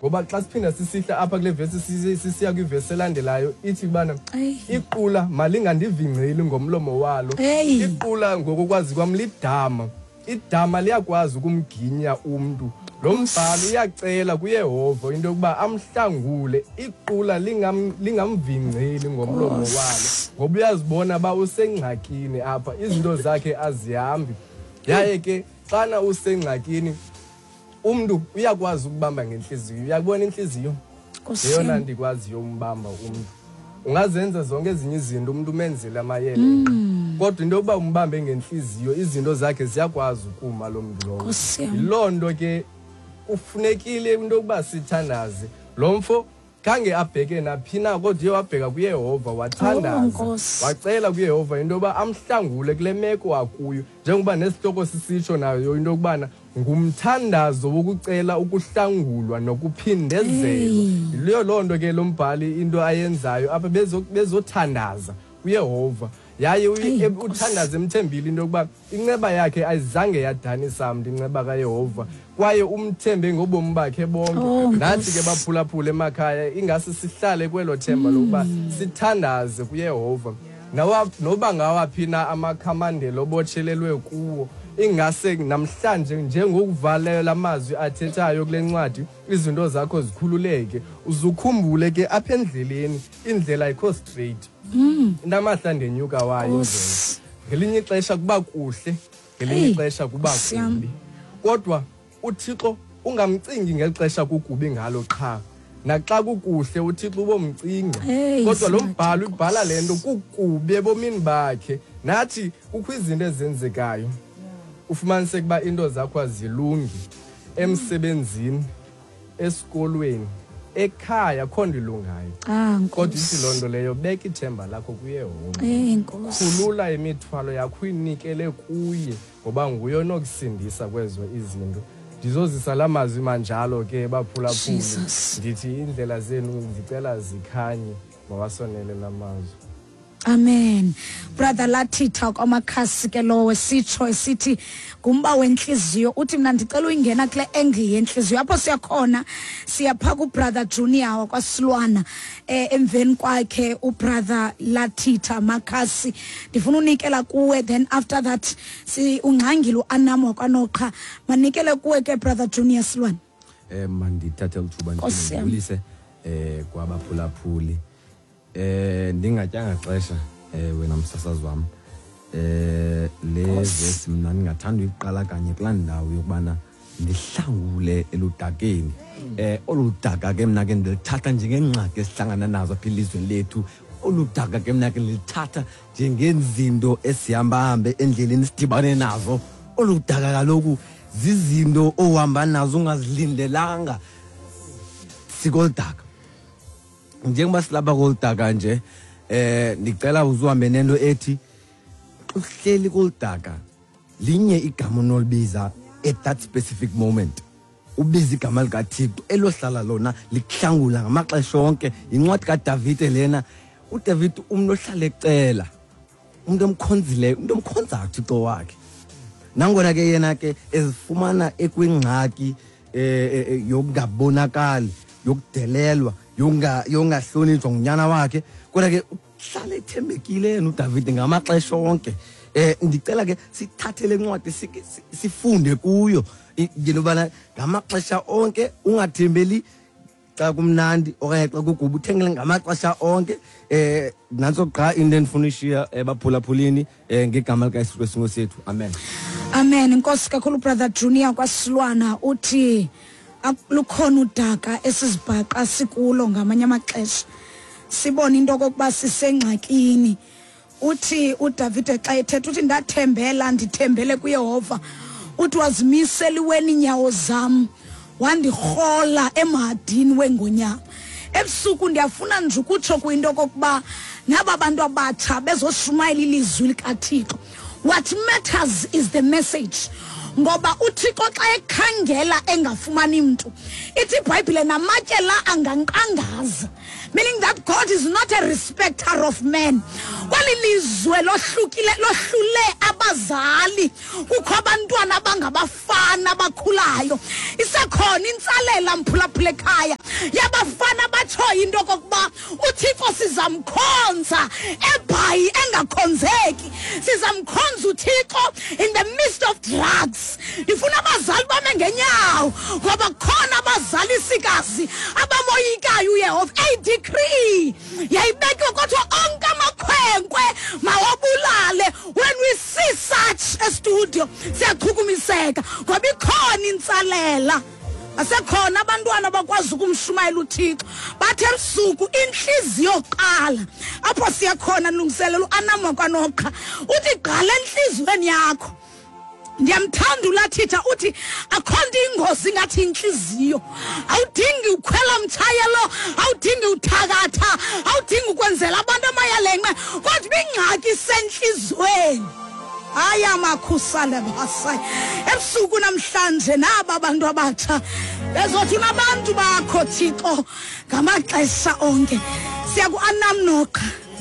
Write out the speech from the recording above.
Ngoba xa siphinda sisihla apha kule vesi sisiya kwivesi elandelayo ithi ubana iqula malingandivingceli ngomlomo walo. Iqula ngokokwazi kwam lidama. Idama liyakwazi ukumginya umntu. Lo mbhalo uyacela kuYehova into yokuba amhlangule iqula lingamvingceli ngomlomo walo, ngoba uyazibona uba usengxakini apha, izinto zakhe azihambi. Yaye ke xana usengxakini umntu uyakwazi ukubamba ngentliziyo. Uyakubona intliziyo yeyona ndikwaziyo umbamba umntu. Ungazenza zonke ezinye izinto umntu umenzele amayele, kodwa into yokuba umbambe ngentliziyo izinto zakhe ziyakwazi ukuma lo mntu lowo. Yiloo nto ke kufunekile into yokuba sithandaze. Lo mfo khange abheke naphi na, kodwa uye wabheka kuYehova, wathandaza, wacela kuYehova into yokuba amhlangule kule meko akuyo, njengoba nesihloko sisitsho nayo into yokubana ngumthandazo wokucela ukuhlangulwa nokuphindezelwa. Yileyo loo nto ke lo mbhali into ayenzayo apha, bezothandaza kuYehova, yaye uthandaza emthembile into yokuba inceba yakhe ayizange yadanisa mntu, inceba kaYehova, kwaye umthembe ngobomi bakhe bonke. Nathi ke baphulaphula emakhaya, ingase sihlale kwelo themba lokuba sithandaze kuYehova. Noba ngawaphi na amakhamandela obotshelelwe kuwo, ingase namhlanje njengokuvalela lamazwi athethayo kule ncwadi, izinto zakho zikhululeke. Uzukhumbule ke apha endleleni, indlela ayikho straight. Inamahla ndenyuka wayo indlela. Ngelinye ixesha kuba kuhle, ngelinye ixesha kuba kubi. Kodwa uThixo ungamcingi ngeli xesha kukubi ngalo qha. Naxa kukuhle uThixo ubomcinga. Kodwa lo mbhalo ubhala le nto kukubi ebomini bakhe. Nathi kukho izinto ezenzekayo. Ufumaniseke uba into zakho azilungi emsebenzini, esikolweni, ekhaya akho nto ilungayo. Kodwa ithi loo nto leyo, beka ithemba lakho kuYehova. Khulula imithwalo yakho uyinikele kuye, ngoba nguye onokusindisa kwezo izinto. Ndizozisa la mazwi manjalo ke baphulaphuli, ndithi iindlela zenu ndicela zikhanye, mawasonele la mazwi. Amen. Brother Lathitha kwamakhasi ke lowo sitsho esithi ngumba wentliziyo. Uthi mna ndicela uyingena kule angle yentliziyo. Apho siyakhona siyapha ku Brother Junior wakwaSilwana, emveni kwakhe uBrother Lathitha Makhasi. Ndifuna unikela kuwe, then after that si ungxangile uAnam wakwaNoqha. Manikele kuwe ke Brother Junior Silwana. Mandithathe lithuba ndibulise kwabaphulaphuli. Ndingatyanga xesha wena msasazi wam. Le vesi mna ndingathanda uyiqala kanye kulaa ndawo yokubana ndihlangule eludakeni. Olu daka ke mna ke ndilithatha njengengxaki esihlangana nazo apha elizweni lethu. Olu daka ke mna ke ndilithatha njengezinto esihamba-hambe endleleni sidibane nazo. Olu daka kaloku zizinto ohamba nazo ungazilindelanga. Sikoludaka. Njengoba silapha koludaka nje, ndicela uzuhambe nento ethi uhleli koludaka linye igama onolibiza at that specific moment. Ubiza igama likaThixo elohlala lona likuhlangula ngamaxesha onke. Yincwadi kaDavide lena. uDavide umntu ohlala ecela, umntu omkhonzileyo, umntu omkhonzayo uThixo wakhe. Nangona ke yena ke ezifumana ekwingxaki yokungabonakali, yokudelelwa, yokungahlonitshwa ngunyana wakhe, kodwa ke uhlala ethembekile yena uDavide ngamaxesha onke. Ndicela ke sithathe le ncwadi sifunde kuyo into yobana ngamaxesha onke ungathembeli xa kumnandi okanye xa kuguba, uthengele ngamaxesha onke. Nantso qha into endifuna uyishiya ebaphulaphulini ngegama likaYesu Kristu Nkosi yethu. Amen. Amen. Inkosi kakhulu Brother Junior kwaSilwana. Uthi lukhona udaka esizibhaqa sikulo ngamanye amaxesha, sibone into okokuba sisengxakini. Uthi uDavide xa ethetha uthi ndathembela, ndithembele kuYehova. Uthi wazimisela iweni inyawo zam, wandirhola emhadini wengonyama. Ebusuku ndiyafuna nje ukutsho kwinto okokuba naba bantu abatsha bezoshumayela ilizwi likaThixo. What matters is the message. Ngoba uThixo xa ekhangela engafumani mntu, ithi iBhayibhile namatye la angankqangaza. Meaning that God is not a respecter of men. Kweli lizwe lohlukile lohlule abazali kukho abantwana abangabafana abakhulayo. Isekhona intsalela mphulaphula ekhaya yabafana abatshoyo into okokuba uThixo sizamkhonza ebhayi engakhonzeki. Sizamkhonza uThixo in the midst of drugs. Ndifuna abazali bame ngenyawo ngoba kukhona abazali sikazi abamoyikayo uYehova. Eyi decree yayibekiwe kodwa onke amakhwenkwe mawabulale. When we see such a studio siyachukumiseka ngoba ikhona intsalela. Asekhona abantwana abakwazi ukumshumayela uThixo bathi ebusuku intliziyo qala apho siyakhona lungiselela uAnam wakwaNoqha uthi gqala entliziyweni yakho. Ndiyamthanda ulathitha uthi akho nto ingozi ngathi intliziyo. Awudingi ukhwela mtshayelo, awudingi uthakatha, awudingi ukwenzela abantu amayalenqe, kodwa ingxaki isentliziyweni. Aya makhusane basayi. Ebusuku namhlanje naba abantu abatsha bezothi unabantu bakho Thixo ngamaxesha onke. Siya ku-Anam Noqa.